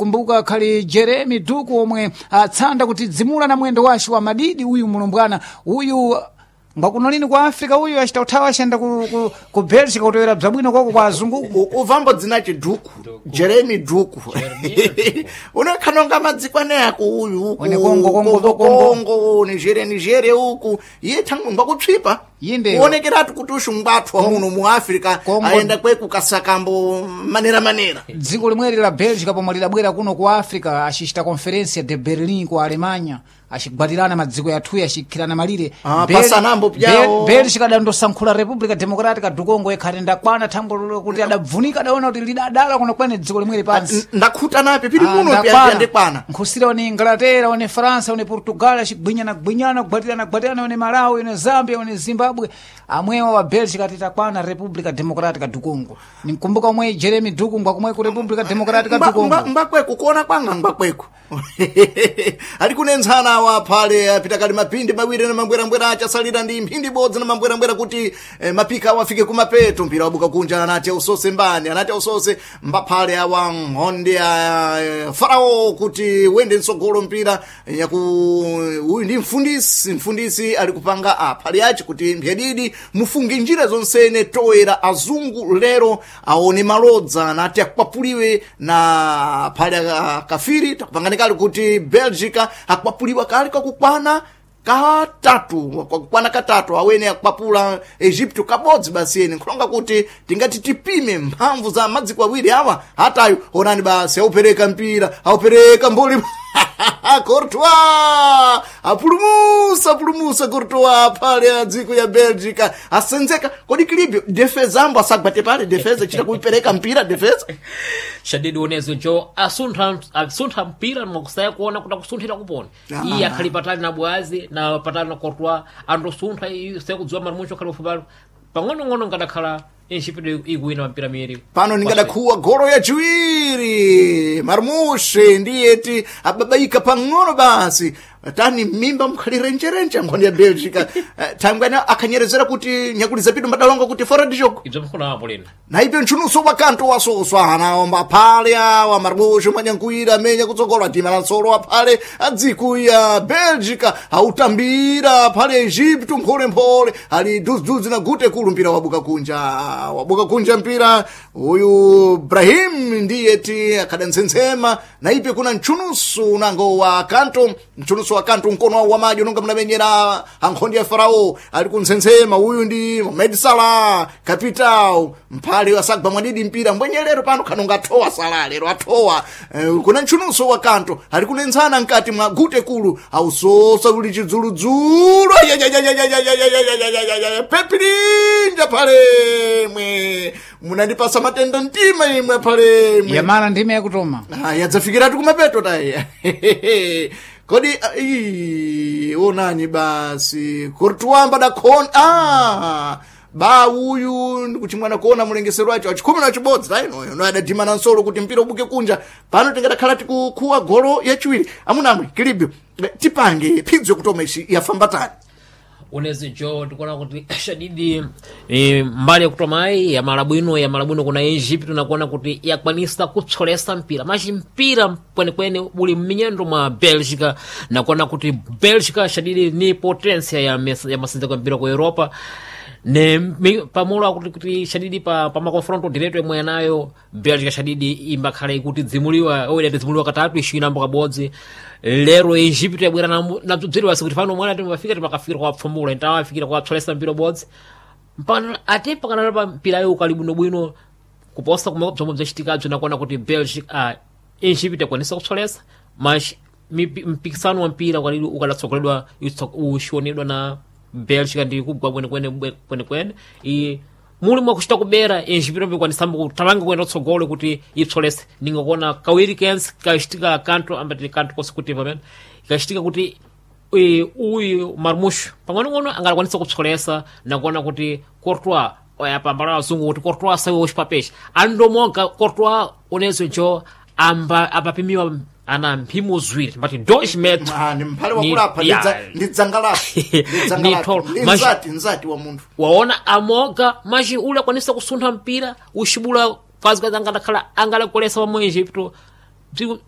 Kumbuka khali Jeremy Duku omwe atsanda kuti dzimula na mwendo wace wa madidi uyu mulumbwana uyu ngwakuno lini kwa Africa uyu achita uthawa achiyenda ku Belgica kutowera bzabwino kwako kwa azungu. Uvambo dzinachi Duku, Jeremy Duku. Unekhanonga madzikwane ako uyu uku One Congo, Congo, Congo. Congo, Nigeria, Nigeria uku iye thangu ngwakutsvipa Yinde. kuonekeratu kuti uxungwathwa muno mu Africa Congo. Ayenda kweku kasakambo manera manera. Dziko limweri la Belgica pomwe lidabwera kuno ku Africa acicita Conferência de Berlin ku Alemanha, acigwatirana madziko yathuyi, acikhirana malire. Ah, pasanambo pyawo. Belgica adandosankhula República Democrática do Congo ikhati ndakwana thambo lolo kuti adabvunika, adaona kuti lidadala kuno kwene dziko limweri pansi. Ndakhuta napi pili Ah, muno ndakwana. pyandikwana. Nkhusira one Inglaterra, one Faransa, one Portugal, acigwinyana gwinyana, kugwatirana gwatirana, one Malawi, one Zambia, one Zimbabwe, amwewa wa Belgica titakwana República Democrática do Congo. Ninkumbuka omwe Jeremy Duku ngwakumwe ku República Democrática do Congo. Ngwakweku kuona kwanga ngwakweku ali kunenzana awa phale apita kali mapindi mawiri na mambwerambwera achasalira ndi mphindi ibodzi na mambwerambwera kuti mapika awo afike kumapeto. Mpira wabuka kunja, anati ausose mbani, anati ausose mbaphale awa nkhonde a Farao kuti wende mtsogolo mpira yaku uyu ndi mfundisi, mfundisi ali kupanga aphale ace kuti mphyadidi mufunge njira zonsene toera azungu lero aone malodza anati akwapuliwe na phale akafiri takupangani kali kuti Belgica akwapuliwa kali kakukwana katatu, kwakukwana katatu awene akwapula Egypto kabodzi basi. Ene nkhulonga kuti tingati tipime mphamvu za madziko awiri awa hatayo. Onani basi aupereka mpira, aupereka mboli, Courtois apulumusa, apulumusa Courtois pale a dziko ya Belgica asenzeka. Kodi kilibyo defesa ambo asagwate pale defesa chita kuipereka mpira defesa. Shadidi unezo jo asuntha mpira mwakusaya kuona kuti akusunthira kupona. Iye akhali patali na bwazi na patali na Courtois andosuntha iye kudziwa Marmucho khali pafupali pang'onong'ono ngadakhala Egypto ikuwina mpira miri. Pano ningadakhuwa golo yachiwiri, Marmushe ndiyeti ababaika pang'ono basi tani mimba mkhalirenjerenje nkhoni ya Belgica. Thangwana akhanyerezera kuti nyakuliza pitu mbadalonga kuti fora de jogo. Ibzo mkhona apo lino. Naipe ntchunuso wakanto wasoswa anaomba aphale awa Marmushe manyankuira amenya kutsogolo atima la nsolo aphale adziko ya Belgica autambira aphale Egypto mpholemphole ali duziduzi na gute kulu. Mpira wabuka kunja, wabuka kunja mpira uyu Brahim ndiyeti akhadantsensema naipe kuna ntchunusu unango wa kanto, ntchunusu wa kanto mkono wawo wamaji unonga munamenyera ankhondi ya Farao ali kuntsensema. Uyu ndi Mohamed Salah capital mphale asagwa mwadidi mpira mbwenyelero pano khanonga athowa Salah lero athowa. Kuna ntchunuso wa kanto ali kunenzana mkati mwa gute kulu ausosa kuli chidzuludzulu pepilinja phalemwe munandipasa matenda mtima imwe phalemwe. Yamala ndime yakutoma. Ah, yadzafikiratu kumapeto tayi kodi ah, ii, onani basi Courtois mbadakhona ba uyu ndikuti mwana kuona mulengesero wacho achikhumi na chibodzi tainoyo no adadhimana nsolo kuti mpira ubuke kunja. Pano tingadakhala tikukhuwa golo yachiwiri. Amunamwe kilibyo tipange phidzo kutoma ici yafamba tani. Unezi jo tikuona kuti Shadidi mbali yakutomayi yamala bwino, yamala bwino kuna Egypto nakuona kuti yakwanisa kutsolesa mpira machi mpira kwenekwene uli mminyendo mwa Belgica nakuona kuti Belgica Shadidi ni potensia ya masenzeko ya mpira ku Europa ne pamulo akuti kuti Shadidi pa makonfronto direto yomwe yanayo Belgica Shadidi imbakhala ikuti dzimuliwa oida tidzimuliwa katatu ixinambo kabodzi. Lero Egypto yabwera nabzobzeriwasi kuti pano mwana timafika timakafikira kuwapfumula ntawafikira kuwapsolesa mpira ubodzi mpaka ate pakanalo pa mpirayo ukali bwinobwino kuposa kumwe bzomwe bzachitikabzo nakuona kuti Belgica Egypto yakwanisa kupsolesa mas mpikisano wa mpira ukalidi ukadatsogoledwa uxionedwa na Belgica ndi kugwa kwenekwene kwenekwene i muli mwakuchita kubera Egypto bikwanisamba kutalanga kuenda kutsogolo kuti ipsolese ningakuona kawiri kense kachitika kanto ambati kanto konse pamene ikachitika kuti uyu Marmusho pang'onong'ono angalakwanisa kupsolesa nakuona kuti Courtois oyapambala azungu kuti Courtois sawe uxipapesha andomonga Courtois unezo jo amba apapimiwa ana mphimo ziwiri mbati 2 metro. Ah, ni mphale Ni- wakulapha ya. ndi dzanga lapo ndi dzanga Ni lapo. tholo. Ndi nzati wa munthu. Waona amoga machi ule akwanisa kusuntha mpira uxibula kazi kazi angadakhala angalakolesa pamwe Egypto.